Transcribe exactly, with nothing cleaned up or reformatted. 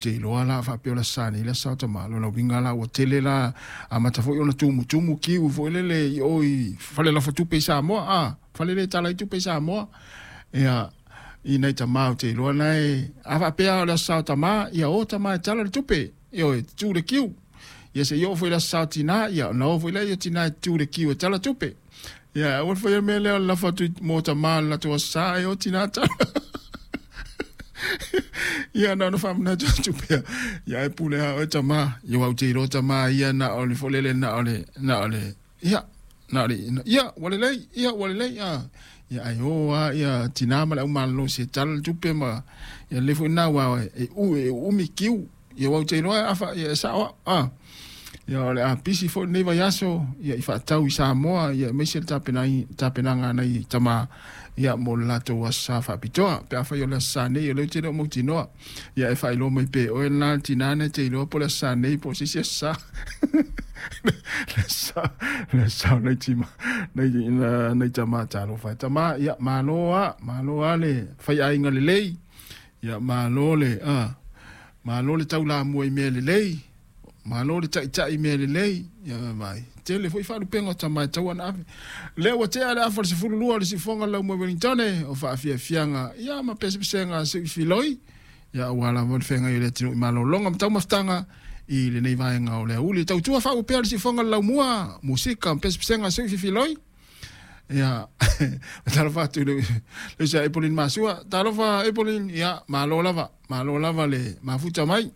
Te iloa la faapea o le aso Sa nei le aso Sa o tamā. Lona uiga la ua tele la amata foi ona tumutumu kiu foi lele i o i fale lafatupe i Samoa, a fale lea e tala ai tupe i Samoa. Ia i nai tamā ou te iloa na e a faapea o le aso Sa o tamā, ia o tamā e tala le tupe, ioe, tutu le kiu. Ia se i oo foi i le aso Sa o tinā, ia ona o foi lea o tinā e tutu le kiu e tala tupe. Ia aua le faia le mea lea o le lafo atu mo tamā i le latou aso Sa ae o tinā tala. Ia na ona faamanatu atu pea. Ia e pule lava oe tamā. Ia aua ou te iloa tamā ia na o le foi lele na o le na o le ia na o le ia ua lelei ia ua lelei a ia ae o lava ia tinā ma le aumalolosi e tala le tupe ma ia lelei foi lena aua e u e uumi kiu. Ia aua ou te iloa afa ia e sao au a. Ia o le a pisi foi lenei vaiaso ia i faatau i Samoa ia aemaise le tapenaga a nai tama ia mo le latou aso Sa faapitoa. Pe afai o le aso Sa nei, o lea ou te le o mautinoa. Ia e faailoa mai pe oe lena le tina na e te iloa po o le aso Sa nei po o se isi aso Sa. Le aso Sa, le aso Sa o nai tima, nai, nai tama talofa e. Tama, ia malo lava, malo lava le faiaiga lelei. Ia malo le, a, malo le taulamua i mea lelei. Malo le taitai i mea lelei. Ia vaai, tele foi faalupega o tama e tatau ona ave. Lea ua tea le afa o le sefulu lua o le siufofoga o le laumua i Wellingtone o faafiafiaga ia ma pesepesega a Sui Filoi ia aua lava le feagai o le atunuu i malologa ma taumafataga i lenei vaega o le aoauli. Tautua faauu pea le siufofoga o le laumua, musika ma pesepesega a Sui Filoi. Ia, talofa atu i le uso ia Epolin Masua. Talofa Epolin, ia malo lava, malo lava le mafuta mai.